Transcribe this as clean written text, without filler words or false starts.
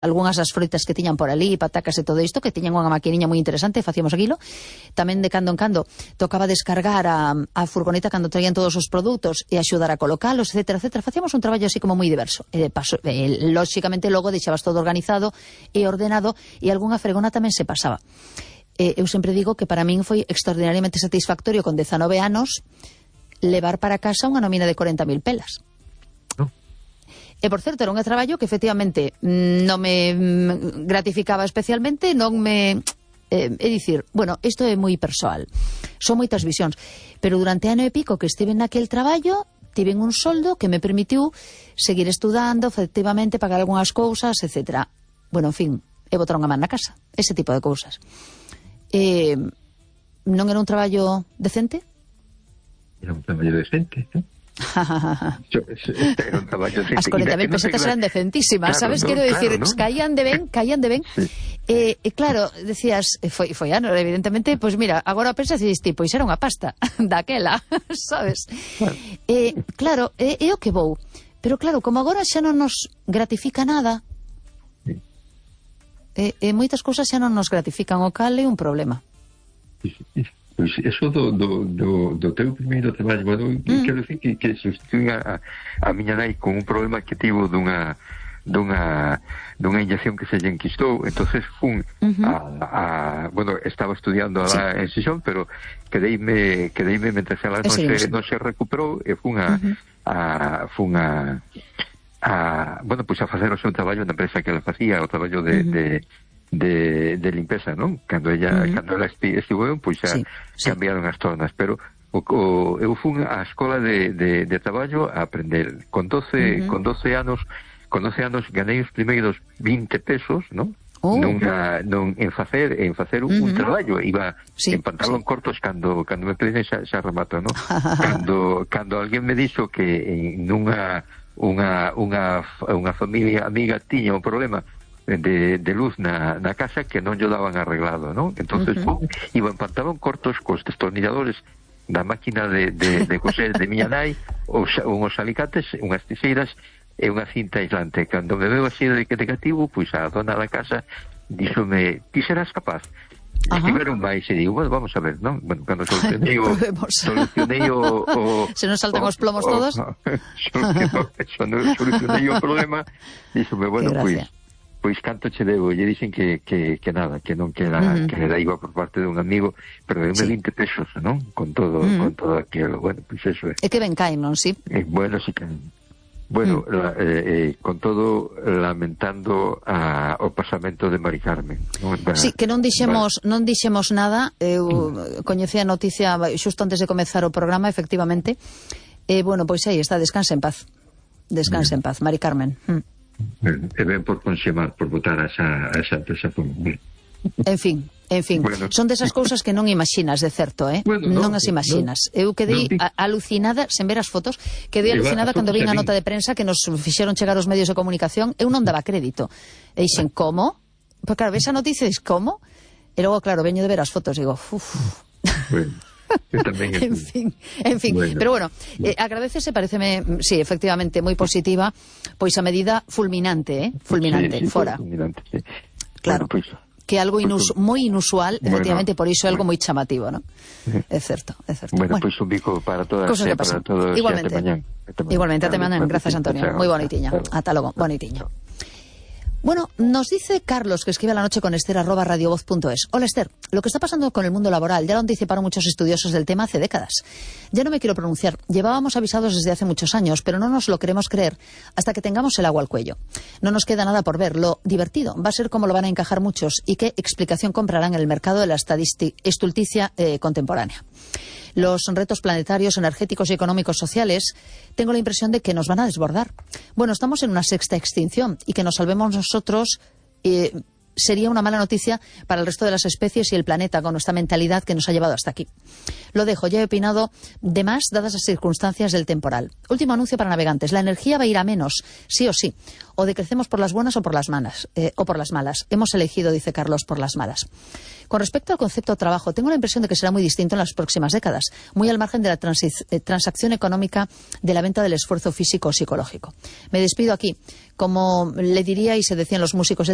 algunhas das froitas que tiñan por ali, patacas e todo isto, que tiñan unha maquiniña moi interesante, facíamos aquilo. Tamén de cando en cando tocaba descargar a furgoneta cando traían todos os produtos e axudar a colocalos, etcétera, etcétera. Facíamos un traballo así como moi diverso. Lóxicamente, logo deixabas todo organizado e ordenado e algunha fregona tamén se pasaba. Eu sempre digo que para min foi extraordinariamente satisfactorio con 19 anos levar para casa unha nómina de 40.000 pelas. E, por certo, era un traballo que, efectivamente, non me gratificaba especialmente, non me... É dicir, bueno, isto é moi persoal. Son moitas visións. Pero durante ano e pico que estive naquel traballo, tiven un soldo que me permitiu seguir estudando, efectivamente, pagar algunhas cousas, etc. Bueno, en fin, e botar unha man na casa. Ese tipo de cousas. Non era un traballo decente? Era un traballo decente, non? As 40.000 pesetas eran decentísimas, claro, sabes, quero dicir, claro, ¿no? caían de ben sí. Claro, decías, foi ano, evidentemente, pois mira, agora pensas e dices, pois era unha pasta daquela, sabes, claro, é o que vou, pero claro, como agora xa non nos gratifica nada, moitas cousas xa non nos gratifican, o cal é un problema. Pois eso do teu primeiro traballo, bueno, quero dicir que sustituín a miña nai con un problema que tivo dunha inyección que se lle enquistou, entonces fun bueno, estaba estudiando alá en Xixón, pero quedeime mentre ela non se recuperou e fun bueno, pois a facer o seu traballo na empresa que ela facía, o traballo de limpeza, non? Cando ela estivo pois xa cambiaron as tornas, pero eu fun á escola de traballo a aprender. Con 12 anos ganei os primeiros 20 pesos, non? En facer un traballo, iba en pantalón cortos cando me pedían xa remato, non? Cando alguén me dixo que nunha unha familia amiga tiña un problema de luz na casa que non lle daban arreglado, non? Entonces iba en pantalón cortos cos destornilladores da máquina de coser de miña nai, unhos alicates, unhas tiseiras e unha cinta aislante. Cando me veo así de negativo, pois a dona da casa díxome, ti serás capaz? Estiveron máis e digo, bueno, vamos a ver, non? Bueno, cando solucionei o se nos saltan os plomos todos. Solucionei o problema, díxome, bueno, pois canto che debo, lle dixen que nada, que non queda iba por parte dun amigo, pero deu-me 20 pesos, non? Con todo aquilo, bueno, pois eso é. E que ben caen, non, sí? Bueno, sí caen. Bueno, con todo lamentando o pasamento de Mari Carmen, non? Sí, que non dixemos nada, eu coñecía a noticia xusto antes de comezar o programa, efectivamente, bueno, pois aí está, descanse en paz, Mari Carmen. E ben por conxemar, por botar a esa empresa por un... En fin, bueno, son desas cousas que non imaginas, de certo, bueno, non as imaginas. Eu quedei alucinada, sen ver as fotos, quedei alucinada cando vi a nota de prensa que nos fixeron chegar os medios de comunicación, eu non daba crédito. E dixen, como? Porque claro, ves a noticia e dis, como? E logo, claro, veño de ver as fotos e digo, bueno. En fin, bueno. Pero bueno, agradecese, pareceme, sí, efectivamente, moi positiva, pois a medida fulminante, fora. Fulminante, sí. Claro, bueno, pues, que algo moi inusual, efectivamente, por iso é algo moi chamativo, non? É certo. Bueno, pois un bico para todas e para todos. Igualmente, ate mañán, grazas, Antonio. Moi bonitiña. Ata logo, bonitiña. Bueno, nos dice Carlos, que escribe a la noche con Esther@radiovoz.es. Hola, Esther. Lo que está pasando con el mundo laboral ya lo anticiparon muchos estudiosos del tema hace décadas. Ya no me quiero pronunciar. Llevábamos avisados desde hace muchos años, pero no nos lo queremos creer hasta que tengamos el agua al cuello. No nos queda nada por ver. Lo divertido va a ser cómo lo van a encajar muchos y qué explicación comprarán en el mercado de la estulticia contemporánea. Los retos planetarios, energéticos y económicos sociales, tengo la impresión de que nos van a desbordar. Bueno, estamos en una sexta extinción y que nos salvemos nosotros sería una mala noticia para el resto de las especies y el planeta con nuestra mentalidad que nos ha llevado hasta aquí. Lo dejo, ya he opinado de más dadas las circunstancias del temporal. Último anuncio para navegantes. La energía va a ir a menos, sí o sí. O decrecemos por las buenas o por las malas. Hemos elegido, dice Carlos, por las malas. Con respecto al concepto de trabajo, tengo la impresión de que será muy distinto en las próximas décadas, muy al margen de la transacción económica de la venta del esfuerzo físico o psicológico. Me despido aquí. Como le diría y se decían los músicos,